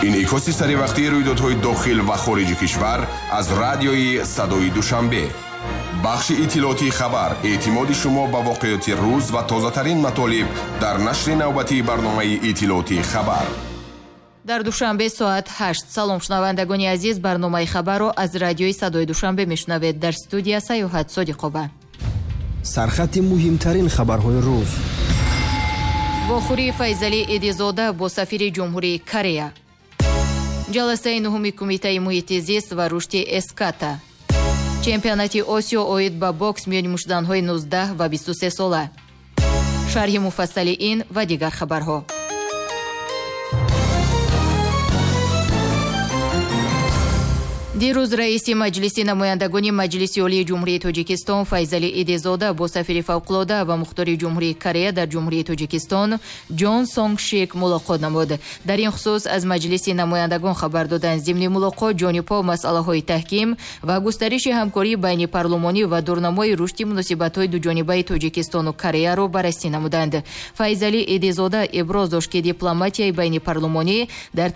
Инъикоси саривақтии рӯйдодҳои дохил ва хориҷи кишвар аз радиои Садои Душанбе. Бахши иттилоотии хабар, эътимоди шумо ба воқеоти рӯз ва тозатарин матолиб дар нашри навбатии барномаи иттилоотии хабар. Дар Душанбе соат 8. Салом, шунавандагони азиз, барномаи хабарро аз радиои Садои Душанбе мешунавед. Дар студия Саёҳат Содиқова. Сархати муҳимтарин хабарҳои рӯз. Вохӯрии Файзалӣ Эдизода бо сафири Ҷумҳурии Корея. Ҷаласаи нуҳуми Кумитаи муҳити зист ва рушди Эската. Чемпионати Осиё оид ба бокс миёни муштзанҳои 19 ва 23 сола. Шарҳи муфассали ин ва дигар хабарҳо. Дирӯз раиси Маҷлиси намояндагони Маҷлиси Олии Ҷумҳурии Тоҷикистон Файзалӣ Идизода бо сафири фавқулода ва мухтори Ҷумҳурии Корея дар Ҷумҳурии Тоҷикистон Ҷон Сонг Шик мулоқот намуд. Дар ин хусус аз Маҷлиси намояндагон хабар доданд. Зимни мулоқот ҷонибҳо масъалаҳои таҳким ва густариши ҳамкории байнипарлумонӣ ва дурнамои рушди муносибатҳои дуҷонибаи Тоҷикистону Кореяро баррасӣ намуданд. Файзалӣ Идизода иброз дошт, ки дипломатияи байнипарлумонӣ дар